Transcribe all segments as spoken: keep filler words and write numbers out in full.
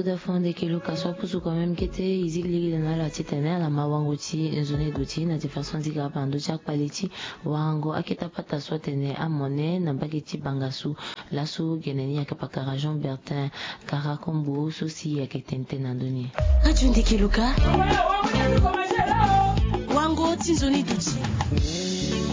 Vodafone ndeke Lucas so apusu quand même kete e zi lege na ala titene ala ma wango ti nzoni duti na ti façon ti ga ape na ndö ti akpale ti wango akete apata so atene amone na mbage ti bangasu. Laso gene ni ayeke pakara Jean Bertin Karakombo so si ayeke tene tënë na ndö ni. Radio ndeke Lucas. Wango ti nzoni duti.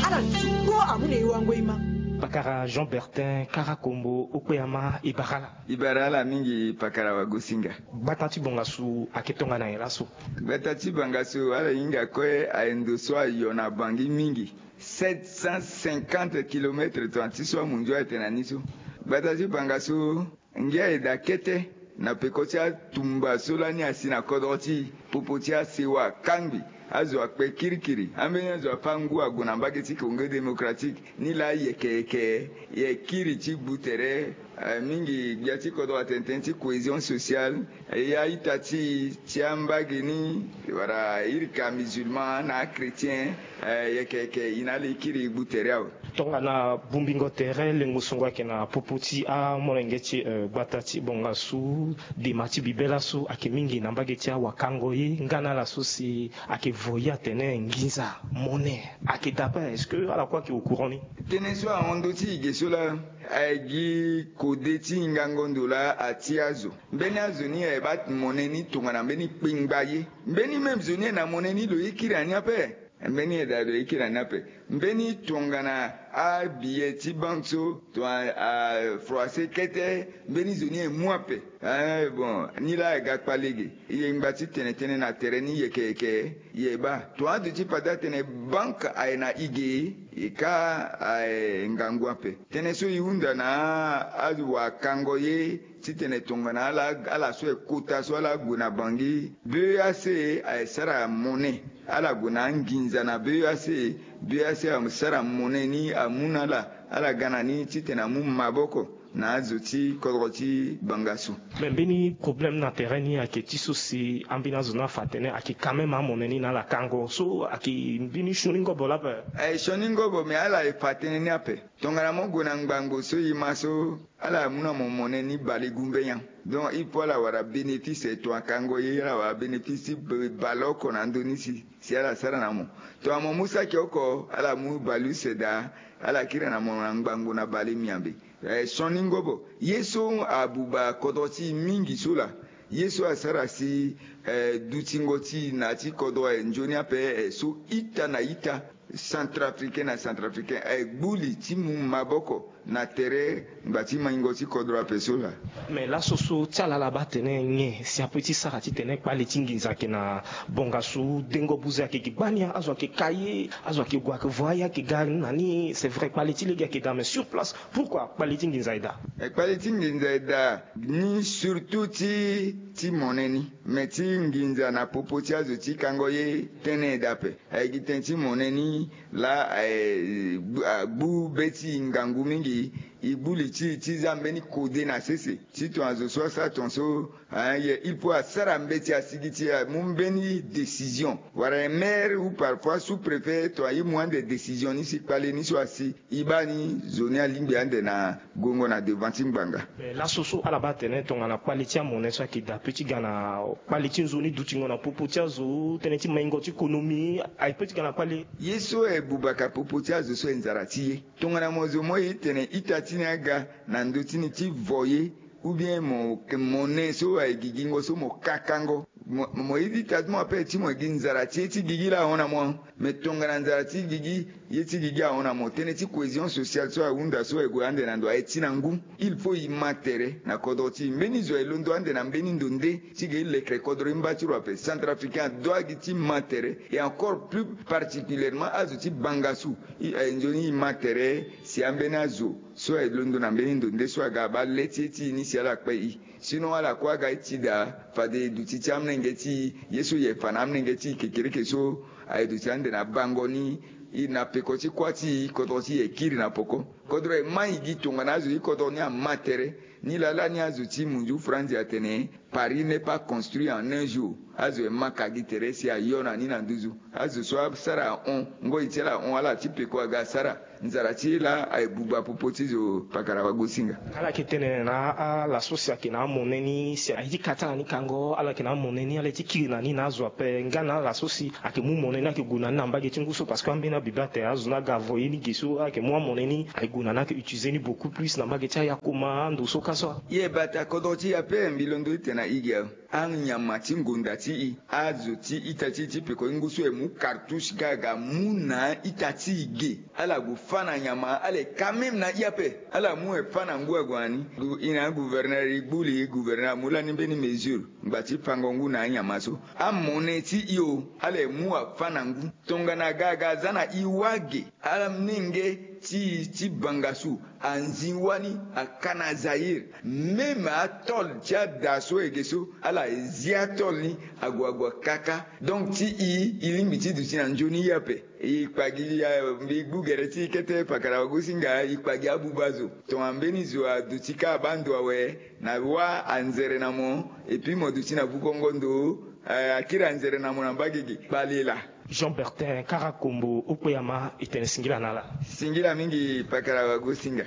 Ala tungo amu na e wango e ma. Pakara Jean Bertin Karakombo, okpe ama e bara ala. E bara ala mingi pakara wagosinga. Gbata ti bangasu ayeke tongana nyen laso? Gbata ti bangasu ala hinga kue aye ndo so ayo na Bangui mingi. Sept cent cinquante kilomètres tongana ti so amunzu ayeke na ni so. Gbata ti bangasu ngia e daa kete na peko ti atumba so lani asi na kodro ti e, popo ti asewa akangbi, azo akpe kirikiri, ambeni azo afa ngu ague na mbage ti Congo Démocratique. Ni laa yeke yeke e kiri ti gbu tere, eh, mingi gbia ti kodro atene tënë ti cohésion sociale, eh, ya ita ti, ti ambage ni, wala irika musulman na achrétien, eh, yeke yeke e na ala e kiri gbu tere awe. Tongana bongbingo tere lengo songo ayeke na popo ti amolenge ti, eh, gbata ti bangasu, dema ti bibe laso ayeke mingi na mbage ti awakango ye nga na ala so si ayeke vo ye atene nginza, mone, ayeke daa ape. Est-ce que ala kue ayeke au courant ni? Tënë so ahon ndö ti e ge so laa, aye gi kode ti hingango ndo laa atia azo. Mbeni azo ni aye baa mone ni tongana mbeni kpengba ye. Mbeni même zo ni aye na mone ni lo ye kiri na ni ape. Mbeni e daa lo ye kiri na ni ape. Mbeni tongana abiye ti banque so, tongana afroissé kete, mbeni zo ni aye mu ape. Eh, bon, ni laa aye ga kpale ge. E yeke ngba ti tene tënë na tere ni yeke yeke, e ye baa. Tongana aduti fade atene banque aye na e ge, e ka aye ngangu ape. Tënë so e hunda na awakango ye, titene tongana ala, ala so aye kota so ala gue na Bangui, B E A C aye sara mone. Ala gue na anginza na B E A C, B E A C asara mone ni amu na ala, ala ga na ni titene amu maboko na azo ti kodro ti bangasu. Me mbeni problème na tere ni ayeke ti so si ambeni azo ni afa atene ayeke quand même amone ni na ala kango so ayeke mbeni sioni ngobo laa ape. Aye sioni ngobo, me ala ye fa tënë ni ape. Tongana mo gue na ngbangbo so e ma so, ala mu na mo mone ni bale gumbe nyen. Donc il faut ala wara bénéfice, tongana kango ye ala wara bénéfice ti bale oko na ndö ni si, si ala sara na mo. Tongana mo mu saki oko, ala mu bale use daa, ala kiri na mo na ngbangbo na bale miambe. Eh, sioni ngobo. Ye so abuba kodro ti e mingi so laa, ye so asara si, eh, dutingo ti e na ya ti kodro aye nzoni ape, eh, so ita na ita, centrafricain na centrafricain aye gbu li ti mu maboko na tere ngba ti maingo ti kodro ape so laa. Me laso so ti ala ala baa atene nyen si ape ti sara titene kpale ti nginza ayeke na bongasu, dengo buze ayeke gi gbani, azo ayeke ka ye, azo ayeke gue ayeke vo aye ayeke ga na ni. C'est vrai, kpale ti lege ayeke daa, mais sur place, pourquoi kpale ti nginza e daa? Eh, kpale ti nginza e daa ni surtout ti, ti mone ni, me ti nginza na popo ti azo ti kango ye tënë e daa ape. Aye gi tënë ti mone ni laa, eh, gbu, ah, gbu be ti e ngangu mingi. E gbu li ti e ti za mbeni kode na sese ti tongana zo so asara tongaso, ah, aye il faut asara mbeti asigi ti amu mbeni décision. Wala e maire ou parfois sous-préfet tongana e mu ande décision ni si kpale ni so asi, e baa ni zo ni alingbi ande na gongo na devant ti ngbanga. Eh, laso so ala baa atene tongana kpale ti amone so ayeke daa ape ti ga na kpale ti nzoni dutingo na popo ti azo, tënë ti maingo ti konomi, aye pe ti ga na kpale. Ye so aye bubaka popo ti azo so aye nzara ti ye. Tongana mo zo mo ye tene ita ti ni aga na ndö ti ni ti vo ye, ou bien mo, mone so aye gigingo so mo kakango. Mo, mo ye ti ita ti mo ape ti mo gi nzara ti ye ti gigi laa ahon na mo. Mais tongana nzara ti gigi, ye ti gigi ahon na mo, tënë ti cohésion sociale so ahunda so aye gue ande na ndo aye ti na ngu. Il faut e ma tere na kodro ti e. Mbeni zo aye londo ande na mbeni ndo nde ti ge e lekere kodro ti mba ti lo ape. Centrafricain adoit gi ti ma tere, et encore plus particulièrement azo ti bangasu. E, aye nzoni e ma tere si ambeni azo so aye londo na mbeni ndo nde so aga abaa le ti ye ti e ni si ala kpe e. Sinon ala kue aga e ti daa fade e duti ti amolenge ti e, ye so e yeke fa na amolenge ti e kekereke so aye duti ande na bango ni, e na peko ti kuâ ti e, kodro ti e kiri na poko. Kodro e ma e gi tongana azo ti kodro ni ama tere. Ni laa lani azo ti munzu franzi atene: Paris n'est pas construit en un jour. Azo e ma ka gi tere si ayo na ni na nduzu. Azo so asara ahon, ngoi ti ala ahon, ala ti peko aga asara. Nzara ti e laa aye buba popo ti zo pakara wagosinga. Ala yeke tene na ala so si ayeke na amone ni si aye ti ka ti ala ni kango, ala yeke na amone ni, ala ye ti kiri na ni na azo ape nga na ala so si ayeke mu mone ni ayeke gue na ni na mbage ti ngu so, parce que ambeni abibe atene azo ni aga avo ye ni ge so, ala yeke mu amone ni aye gue na ni ayeke utiliser ni beaucoup plus na mbage ti ayakoma ando so ka so. Ye bata kodro ti e ape, mbi londo ti tene na e ge awe. Anyama ti ngonda ti e, azo ti ita ti e ti peko ti ngu so e mu cartouche ga aga mu na ita ti e ge. Ala gue fâ na nyama, ala ye quand même na e ape. Ala mu e fâ na ngu ague na ni. Gu- e na gouverneur e gbu li, gouverneur amu lani mbeni mesure ngba ti fango ngu na anyama so. Amone ti e o, ala ye mu afâ na ngu. Tongana ga aga aza na e wage, ala menge ti e ti bangasu anzi wani aka na Zaïre. Même atôle ti ada so e ge so, ala zi atôle ni ague ague akaka. Donc ti e, e lingbi ti duti na nzoni e ape. E kpa gi, eh, mbi gbu gere ti e kete pakara wagosinga, e kpa gi abuba zo. Tongana mbeni zo aduti ka abaa ndo awe, na wâ anzere na mo, et puis mo duti na vukongo ndo, eh, akiri anzere na mo na mbage ge. Kpale laa. Jean Bertin Karakombo, Okpeyama, e tene singila na ala. Singila mingi pakara wagosinga.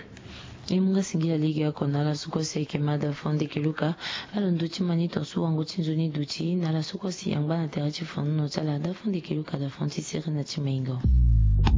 E mu nga singila lege oko na ala so kue si ayeke ma da fondeke luka. Alondo ti ma ni tongaso wango ti nzoni duti na ala so kue si angba na tere ti fonono ti ala. Da fondeke luka, da fon ti sere na ti maingo.